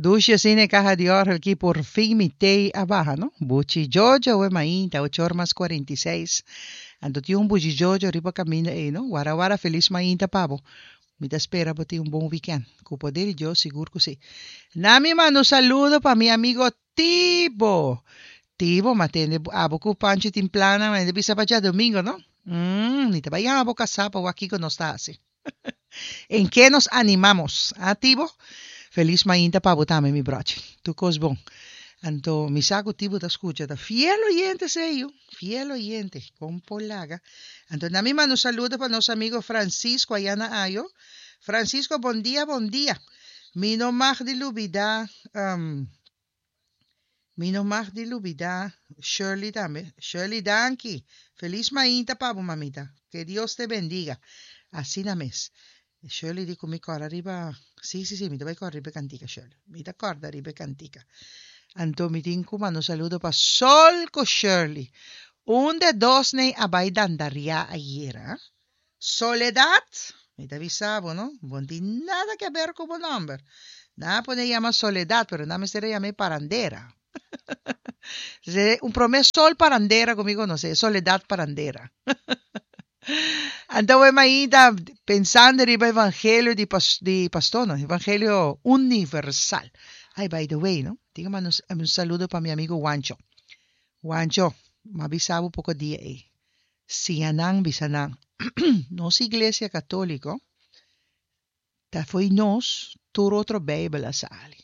Dushi asina e kaha di òrgel ki por fin mi tei a baha no. Buchi Jojo awe mainta ocho or mas 46. Anto tin un Buchi Jojo riba kaminda ei no. Wara wara felis mainta pa bo. Mi ta spera bo tin un bon wikènt. Ku poder di Dios sigur ku si. Na mi manda un saludo pa mi amigo Tibo. Tibo m'a tende abo ku Panchi tin plannan ma e ta bisa pa djadomingo no. Umm mi ta bai yama bo kasá pa wak kiko nos ta hasi. En ke nos animamos? Ah Tibo? Felis mainta pa bo tambe mi brochi. Tur kos bon. Anto mi sa ku Tibo ta skucha ta fiel oyente esei yu, fiel oyente. Kon por laga. Anto na mi manda un saludo pa nos amigo Francisco aya na Ayo. Francisco bon dia bon dia. Mi no mag di lubida Mi no mag di lubida Shirley tambe. Shirley danki. Feliz mainta pa bo mamita. Que Dios te bendiga. Asina mes. Shirley di cu mi corda riba si si si mi ta bay corda riba e cantica Shirley. Mi ta corda riba e cantica. Anto mi tin cu manda un saludo pa Sol cu Shirley. Un de dos ney a bay dandaria ayera. Soledad, mi ta bisa bo no, bo no tin nada ke ber ku bo nòmber. Nan a pone yama Soledad, pero nan mester a yam'é Parandera. Un promé sol parandera ku mi konosé, Soledad Parandera. Anto we mainta pensando riba evangelio di di pastor no, evangelio universal. Ay, by the way no, tin ku manda un saludo pa mi amigo Wancho. Wancho, m'a bisa bo poko dia ei. Siña nan bisa nan, Nos Iglesia Katóliko ta fo'i nos tur otro Beibel a sali.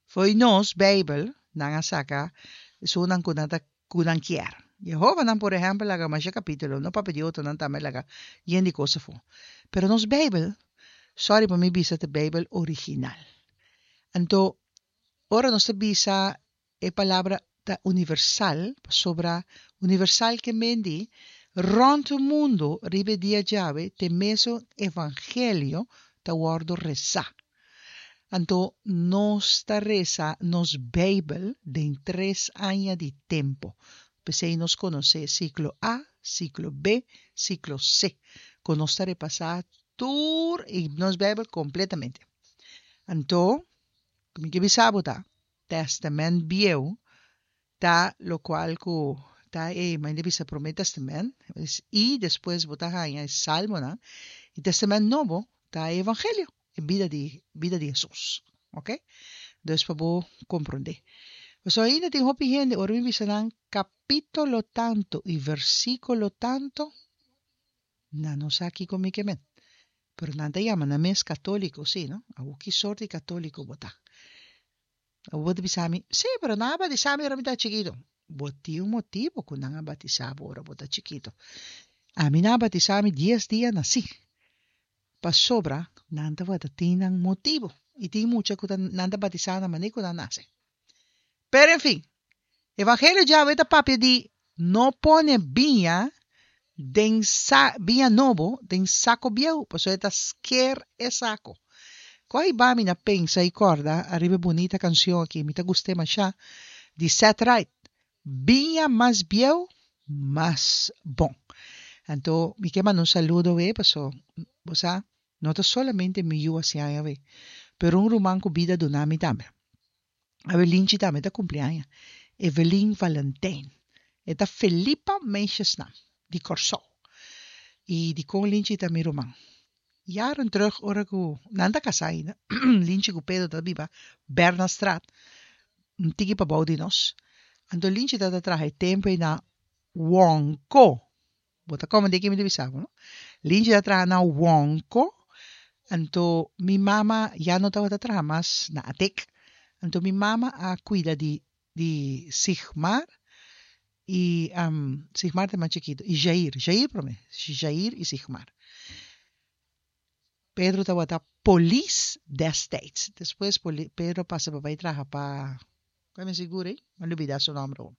Fo'i nos Beibel nan a saka esunnan ku nan ta ku nan kier. Jehovanan por ehèmpel laga masha kapítulo, no papia di otronan tambe laga yen di kos afó. Pero nos Beibel, sòri pa mi bisa, ta Beibel original. Anto ora nos ta bisa E palabra ta universal pasobra universal ke men di rònt mundu riba e dia djawe te mesun evangelio ta wòrdu resá. Anto nos ta resa nos Beibel den tres aña di tempu. P'esei nos konosé siklo A, siklo B, siklo C, ku nos ta repasá tur i nos Beibel kompletamente. Anto, mi ke bisa bo ta, Testament Bieu ta lokual ku ta e manera di bisa Promé Testament i despues bo ta haña e Salmonan i Testament Nobo ta e Evangelio, e bida di bida di Hesus. Oke? Dus pa bo komprondé. Pasobra ainda tin hopi hende ora mi bisa nan kapítulo tantu i versíkulo tantu, nan no sa kiko mi ke men. Pero nan ta yama nan mes katóliko, sí, no? Awor ki sort di katóliko bo ta? Awor bo ta bisa mi, Sí, pero nan a batisá mi ora mi ta chikitu. Bo tin un motibu ku nan a batisá bo ora bo ta chikitu. Ami nan a batisá mi dies dia nasí, pasobra nan tabata tin nan motibu. I tin mucha ku ta nan ta batisá na manera ku nan nase. Pero en fin, Evangelio djawe ta papia di no pone biña den sa biña nobo den sako bieu, pasobra e ta sker e sako. Ku a hiba mi na pensa i kòrda ariba e bunita kanshon aki, mi ta gust'é mashá, di Seth Wright, Biña mas bieu, mas bon. Anto mi ke manda un saludo awe, paso bo sa, no ta solamente mi yu a siña awe, pero un ruman ku bida duna mi tambe. Awe Linchi tambe ta cumpli aña. Evelyn Valentijn. E ta Felipa meisjesnaam, di Kòrsou. I dikon Linchi ta mi ruman? Jaren terug ora ku nan ta kasá ainda, Linchi ku Pedro ta biba Bernastraat, un tiki pabou di nos. Anto Linchi tabata traha e tempu ei na Wonko. Bo ta komende ki mi ta bisa bo, no? Linchi ta traha na Wonko, anto mi mama ya no tabata traha mas na Atek. Anto mi mama a kuida di di Sigmar i Sigmar ta e mas chikitu, i Jair, Jair prome, Jair i Sigmar. Pedro tabata polis destijds. Despues Pedro pasa pa bai traha pa, kua mi sigur ei? Mi a lubida su nomber awor.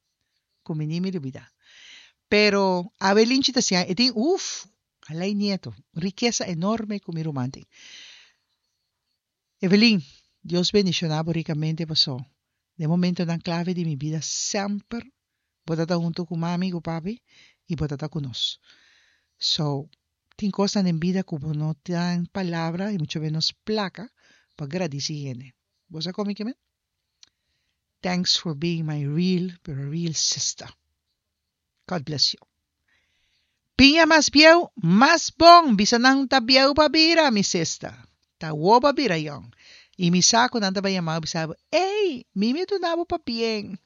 Ku mi ni mi lubida. Pero awe Linchi ta siña, e tin, uf, alei nieto, un rikesa enorme ku mi ruman tin. Evelyn, Dios bendishoná bo rikamente paso den momentonan klave di mi bida semper bo ta ta hunto ku mami ku papi i bo ta ta ku nos. So, tin kosnan den bida ku bo no tin palabra i mucho menos plaka pa gradisí hende. Bo sa kon mi ke men? Thanks for being my real, pero real sister. God bless you. Piña mas bieu, mas bon. Bisa nan ta bieu pa bira, mi sister. Ta awor pa bira yong. I mi sa ku nan ta bai yama bo bisa bo, Ey, Mimi a duna bo pabien.